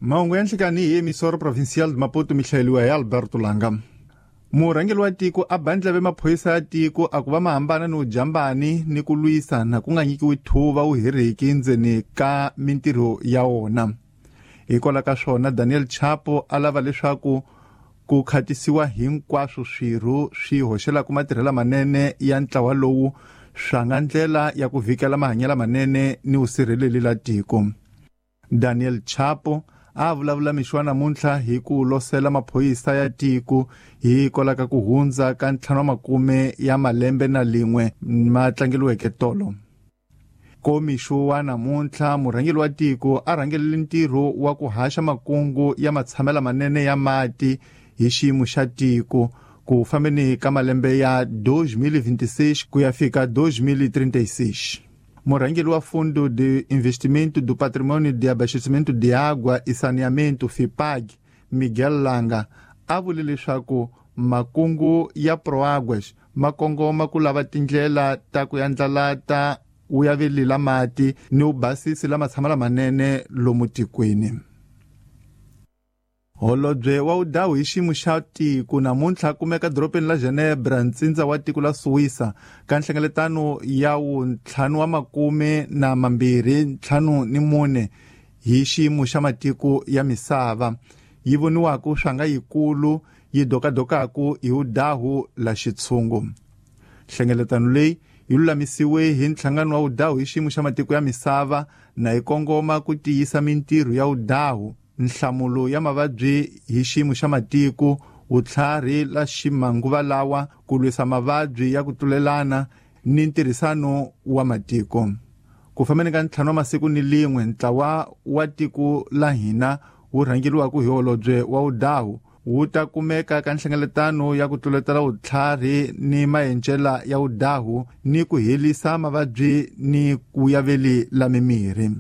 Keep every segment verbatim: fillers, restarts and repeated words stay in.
Mahungu ya nhlikani hi Emissora Provincial de Maputo mi hlayeliwa hi Alberto Langa. Murhangeri wa tiko a ba ndleve maphorisa ya tiko a ku va mahambana ni ujambani ni ku lwisa na ku nga nyikiwi thuva wu heriki ndzeni ka mintirho ya wona. Hikwalaho ka swona Daniel Chapo a lava leswaku ku khatisiwa hinkwaswo swirho swi hoxelaka matirhelo manene ya ntlawa lowu swa nga ndlela ya ku vhikela mahanyelo manene ni vusirheleli la tiko. Daniel Chapo a vulavula mixo wa namuntlha hi ku losela maphorisa ya tiko hikwalaho ka ku hundza ka ntlhanu wa makume ya malembe na lin'we ma tlangeliweke tolo. Komixo wa namuntlha murhangeri wa tiko a rhangelele ntirho wa ku haxa makungu ya matshamelo manene ya mati hi xiyimo xa tiko ku fambeni ka malembe ya dois mil e vinte e seis ku ya fika dois mil e trinta e seis. Murhangeri wa Fundo de Investimento do Patrimônio de Abastecimento de Água e Saneamento, FIPAG, Miguel Langa, a vule leswaku makungu ya Proáguas ma kongoma ku lava tindlela ta ku yandlalata vuyaveli la mati ni vubasisi la matshama lamanene lomu tikweni. Holobye wa vudawu hi xiyimo xa tiko namuntlha kumeka dorobeni la Genebra, ntsindza wa tiko la Suwisa, ka nhlengeletano ya wuntlhanu wa makume na mambirhi ntlhanu ni mune hi xiyimo xa matiko ya misava yi voniwaka swa nga yikulu yi dokadokaku hi vudawu la xitshungu. Nhlengeletano leyi yi lulamisiwe hi nhlangano wa vudawu hi xiyimo xa matiko ya misava na yi kongoma ku tiyisa mintirho ya vudawu, nhlamulo ya mavabyi hi xiyimo xa matiko, vutlhari la ximanguva lawa, ku lwisa mavabyi ya ku tlulelana ni ntirhisano wa matiko. Ku fambeni ka ntlhanu wa masiku ni lin'we, ntlawa wa tiko la hina wu rhangeriwaka hi holobye wa vudawu wu ta kumeka ka nhlengeletano ya ku tluletela vutlhari ni maendlela ya vudawu ni ku herisa mavabyi ni ku yaveli la mimirhi.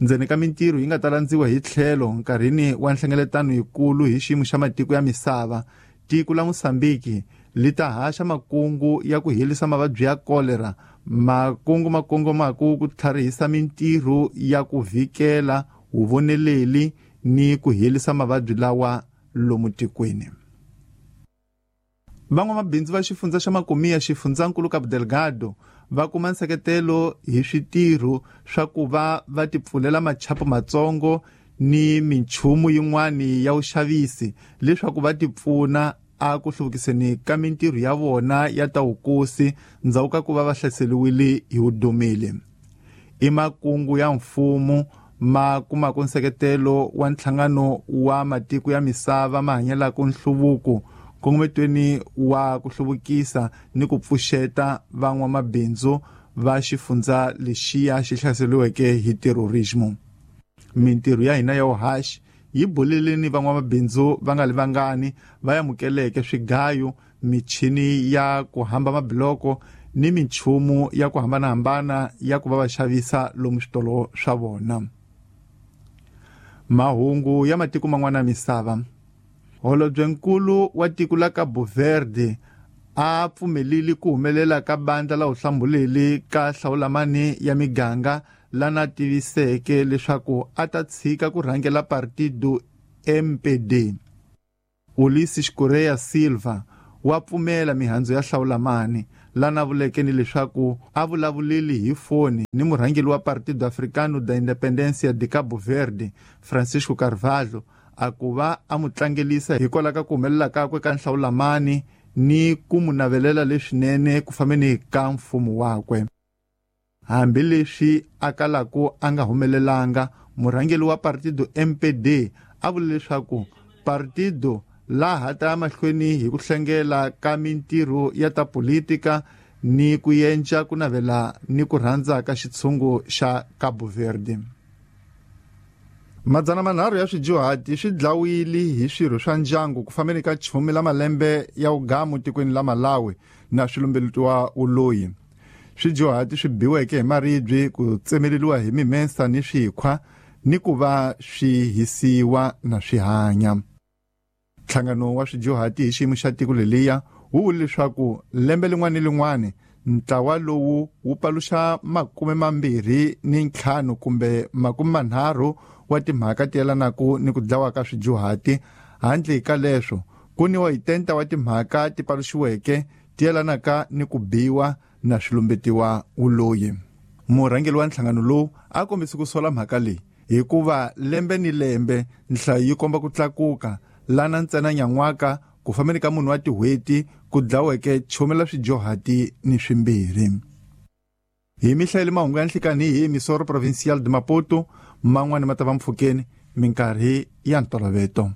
Ndzeni ka mintirho yi nga ta landziwa hi tlhelo nkarhini wa nhlengeletano yikulu hi xiyimo xa matiko ya misava, tiko la Mosambiki li ta haxa makungu ya ku herisa mavabyi ya kolera, makungu ma kongomaka ku tlharihisa mintirho ya ku vhikela vuvoneleli ni ku herisa mavabyi lawa lomu tikweni. Van'wamabindzu va xifundza xa Makumiya, xifundzankulu Cabo Delgado, va kuma nseketelo hi switirho swa ku va va tipfulela machapo matsongo ni minchumu yin'wani ya vuxavisi leswaku va tipfuna a ku hluvukiseni ka mintirho ya vona ya ta vukosi ndzhaku ka ku va va hlaseriwile hi vudomeli. I makungu ya mfumo ma kumaka nseketelo wa nhlangano wa matiko ya misava ma hanyelaka nhluvuko nkongometweni wa ku hluvukisa ni ku pfuxeta van'wamabindzu va xifundza lexiya xi hlaseriweke hi terrorismo. Mintirho ya hina ya vuhaxi yi bulile ni van'wamabindzu va nga li vangani va amukeleke swigayo, michini ya ku hamba mabiloko ni minchumu ya ku hambanahambana ya ku va va xavisa lomu switolo swa vona. Mahungu ya matiko man'wana ya misava. Holobyenkulu wa tiko la Cabo Verde a pfumeleli ku humelela ka bandla la vuhlambuleli ka hlawulamani ya miganga lana tiviseke leswaku a ta tshika ku rhangela Partido M P D. Ulisses Correia Silva wa pfumela mihandzu ya hlawulamani lana vuleke ni leswaku a vulavuleli hi foni ni murhangeri wa Partido Africano da Independência de Cabo Verde, Francisco Carvalho, a ku va a mu tlangelisa hikwalaho ka ku humelela kakwe ka nhlawulamani ni ku mu navelela leswinene ku fambeni ka mfumo wakwe. Hambileswi a kalaku a nga humelelanga, murhangeri wa Partido M P D a vule leswaku Partido laha ta mahlweni hi ku hlengela ka mintirho ya ta politika ni ku yenca ku navela ni ku rhandza ka xitshungu xa Cabo Verde. Madzana manharhu ya swidyuhati swi dlawile hi swirho swa ndyangu ku fambeni ka chumi la malembe ya ugamu tikweni la Malawi na swilumbeletiwa uloyi. Swidyuhati swi biweke hi maribye, ku tsemeleriwa hi mimensa ni swikhwa ni ku va swi hisiwa na swi hanya. Nhlangano wa swidyuhati hi xiyimo xa tiko leliya wu vule leswaku lembe lin'wana ni lin'wana ntlawa lowu wu paluxa makume mambirhi ni ntlhanu kumbe makume manharhu wa timhaka ti yelanaka ni ku dlawa ka swidyuhati. Handle ka leswo ku ni wa itenta wa timhaka ti paluxiweke ti yelanaka ni ku biwa na swilumbetiwa uloyi. Murhangeri wa nhlangano lowu a kombise ku sola mhaka leyi hikuva lembe ni lembe nhlayo yi komba ku tlakuka lana ntsena nyan'waka ku fambeni ka munhu wa tin'hweti ku dlaweke chumela swidyuhati ni swimbirhi. Hi mihlayeli mahungu ya nhlikani hi Emisoro Provincial de Maputo, man'wani ma ta va mpfhukeni minkarhi ya ntoloveto.